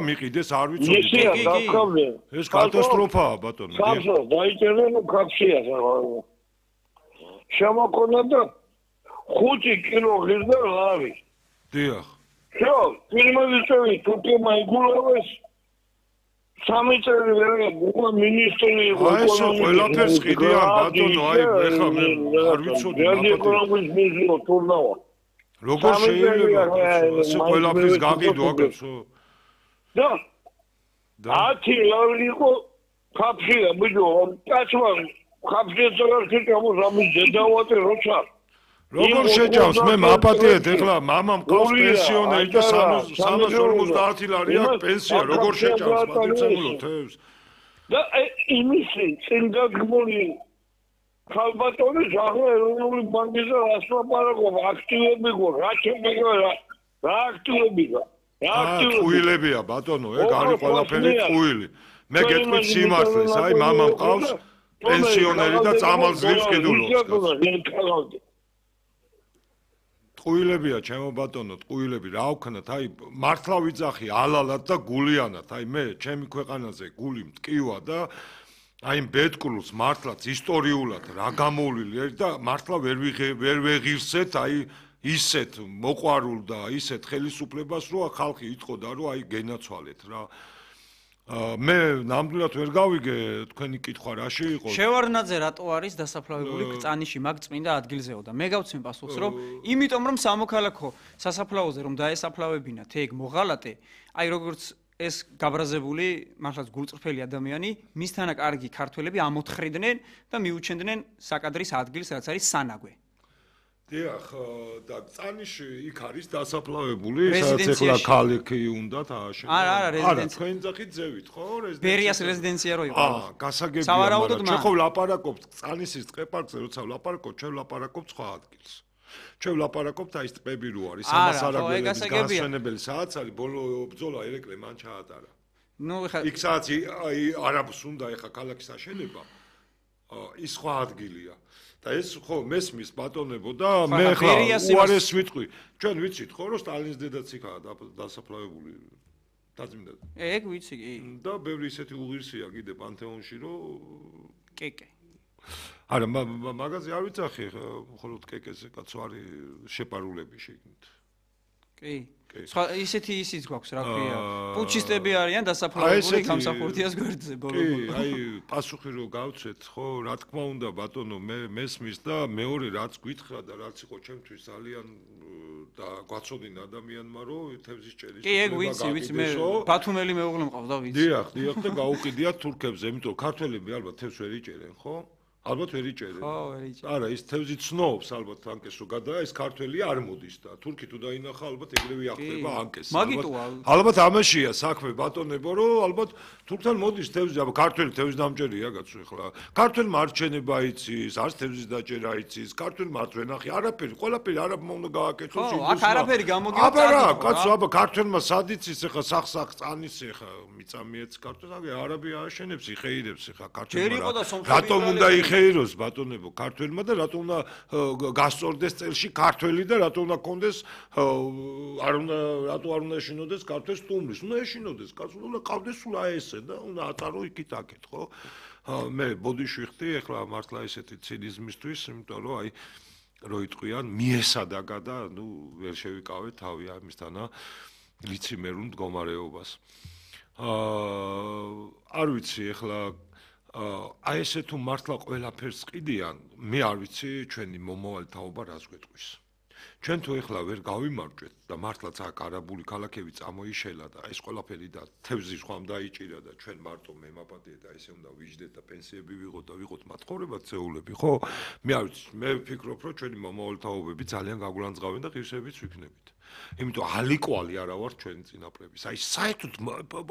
მიყიდეს, არ ვიცოდი. ეს კატასტროფაა, ბატონო. ხალხო, დაიწერენ კაცია რა. შემოქონა და 5 კილო ღირდა ლავი. დიახ. შო, პირველი წელი თურქებმა იგულავეს 3 წელი ვერა მინისტრი იყო ეკონომიკის. აი ეს ყველაფერს ყიდიან ბატონო, აი ეხლა მე არ ვიცოდი ეკონომიკის მინისტრი თურნავა. როგორ შეიძლება ასე ყველაფერს გაგიდო აგებსო? და 10 ლარი იყო ხაფშია ბიჭო, კაცმა ხაფშია წარქი გამოსამის დედავატე როცა როგორ შეჭავს მე მაპატიეთ ეხლა მამამ ყავს პენსიონერი და 350 ლარი აქვს პენსია როგორ შეჭავს პატიცემულო თევს და იმისი წინგაგმული ხალბატონი ახლა ეროვნული ბანკის ასლაპარაკობა აქტივები გო რა შემეგა რა აქტივები გა ყუილებია ბატონო ეგ არის ყველაფერი ყუილი მე გეტყვით სიმართლეს აი მამამ ყავს პენსიონერი და წამალს ძლივს კიდულობს ტყუილებია ჩემო ბატონო ტყუილები რა ვქნათ აი მართლა ვიძახი ალალად და გულიანად აი მე ჩემი ქვეყანაზე გული მტკივა და აი ბეთკულს მართლაც ისტორიულად რა გამოვლილი და მართლა ვერ ვეღირსეთ აი ისეთ მოყვარულ და ისეთ ხელისუფლებას რომ ხალხი იტყოდა რომ აი გენაცვალეთ რა მე ნამდვილად ვერ გავიგე თქვენი კითხვა რაში იყო შევარდნაძე რატო არის დასაფლავებული კწანიში მაგ წმინდა ადგილზეო და მე გავცემ პასუხს რომ იმიტომ რომ სამოქალაქო სასაფლაოზე რომ დაესაფლავებინათ ეგ მოღალატე აი როგორც ეს გაბრაზებული მართლაც გულწრფელი ადამიანი მისთანა კარგი ქართველები ამოთხრიდნენ და მიუჩენდნენ საკადრის ადგილს რაც არის სანაგვე დიახ და წანიში იქ არის დასაფლავებული სადაც ეხლა ქალაქი უნდა თააშენო არა რეზიდენცია თქვენ ძახით ძევით ხო რეზიდენცია ბერიას რეზიდენცია რო იყო გასაგებია მაგრამ ჩვენ ხო ვლაპარაკობთ წანისის ტყეპარკზე როცა ვლაპარაკობთ ჩვენ ვლაპარაკობთ სხვა ადგილს ჩვენ ვლაპარაკობთ აი ტყები რო არის ამას არაგველების გასვენებელი სადაც არის ბოლო ბრძოლა ერეკლე მან ჩაატარა ნუ ეხლა იქ სადაც აი არაბს უნდა ეხლა ქალაქის აშენება ის სხვა ადგილია და ეს ხო მესმის ბატონებო და მე ხა უარეს ვიტყვი ჩვენ ვიცით ხო რომ სტალინის დედაც იქაა დასაფლავებული დაძმინდა ეგ ვიცი კი და ბევრი ისეთი უღირსია კიდე პანთეონში რომ კეკე არა მაგაზე არ ვიცახი მხოლოდ კეკეზე კაცო არის შეპარულები შეგნით კი სხვა ისეთი ისიც გვაქვს რა ქვია პუჩისტები არიან დასაფლავებული გამსახურდიას გვერდზე ბოლო აი პასუხი რო გავცეთ ხო რა თქმა უნდა ბატონო მე მესმის და მეორე რაც გითხრა და რაც იყო ჩემთვის ძალიან და გვაცოდინ ადამიანმა რომ თევზის ჭერის კი ეგ ვიცი მე ბათუმელი მეუღლე მყავს და ვიცი დიახ და გაუყიდიათ თურქებზე იმიტომ ქართველები ალბათ თევზს ვერ იჭერენ ხო ალბათ ვერ იჭერენ. ხო, ვერ იჭერენ. არა, ის თევზი ცნობს ალბათ ანკეს რო გადა, ეს ქართველი არ მოდის და თურქი თუ დაინახა ალბათ ეგრევე ახდება ანკეს. ალბათ ამაშია საქმე ბატონებო, რომ ალბათ თურქთან მოდის თევზი, აბა ქართველი თევზი დამჭერია კაცო ეხლა. ქართველმა არჩენება იცის, არც თევზის დაჭერა იცის, ქართველმა არც ვენახი, არაფერი, ყველაფერი არაბმა უნდა გააკეთოს ის. ხო, აქ არაფერი გამოგივა. აბა რა, კაცო, აბა ქართველმა სად იცის ეხლა სახ წანის ეხლა მიწამიეც ქართველს, აგე არაბი ააშენებს, იხეირებს ეხლა ქართველმა. რატომ უნდა ხეიროს ბატონებო ქართველმა და რატომ უნდა გასწორდეს წელში ქართველი და რატომ უნდა კონდეს რატო არ უნდა ეშინოდეს ქართველს სტუმრის უნდა ეშინოდეს კაცო უნდა ყავდეს სულ აი ესე და უნდა აწარო იქით აქეთ ხო მე ბოდიში ხდი ეხლა მართლა ესეთი ცინიზმისთვის იმიტომ რომ აი რო იტყვიან მიესადაგა და ნუ ვერ შევიკავე თავი ამისთანა ლიციმერულ მდგომარეობას არ ვიცი ეხლა აი ესე თუ მართლა ყველაფერს ყიდიან, მე არ ვიცი ჩვენი მომავალი თაობა რას გვეტყვის. ჩვენ თუ ეხლა ვერ გავიმარჯვეთ და მართლაც აქ არაბული ქალაქები წამოიშელა და ეს ყველაფერი და თევზი ხომ დაიჭირა და ჩვენ მარტო მემაპატიეთ და ესე უნდა ვიждეთ და პენსიები ვიღოთ და ვიყოთ მათხოვრებად წეულები, ხო? მე არ ვიცი, მე ვფიქრობ, რომ ჩვენი მომავალი თაობები ძალიან გაგულანძღავენ და ღირსებიც ვიქნებით. იმიტომ ალიკვალი არა ვარ ჩვენი წინაპრების. აი საერთოდ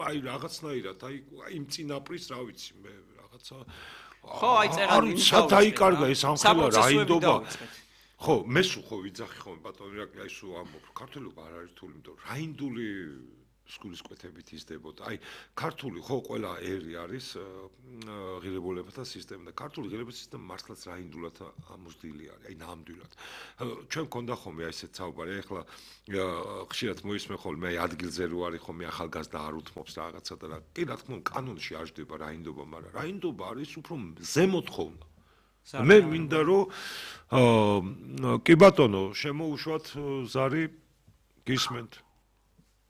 აი რაღაცნაირად აი იმ წინაპრის რა ვიცი მე ხო აი წერალი საერთაიკარგა ეს ამხელა რაინდობა ხო მე სულ ხო ვიძახი ხოლმე ბატონო აი სულ ამბობ ქართულობა არ არის რთული იმიტომ რაინდული სკოლის კვეთებით იზრდებოდა. აი, ქართული ხო ყველა ერი არის ღირებულებათა სისტემა და ქართული ღირებულებათა სისტემა მართლაც რაინდულად ამოსდილი არის, აი ნამდვილად. ჩვენ გქონდა ხოლმე აი ესეთ საუბარი, ეხლა ხშირად მოისმენ ხოლმე აი ადგილზე რო არის ხოლმე ახალგაზრდა არ უთმობს რაღაცა და რა. კი რა თქმა უნდა, კანონში არ ჯდება რაინდობა, მაგრამ რაინდობა არის უფრო ზემოთ ხოლმე. მე მინდა რომ კი ბატონო, შემოუშვათ ზარი გისმენთ.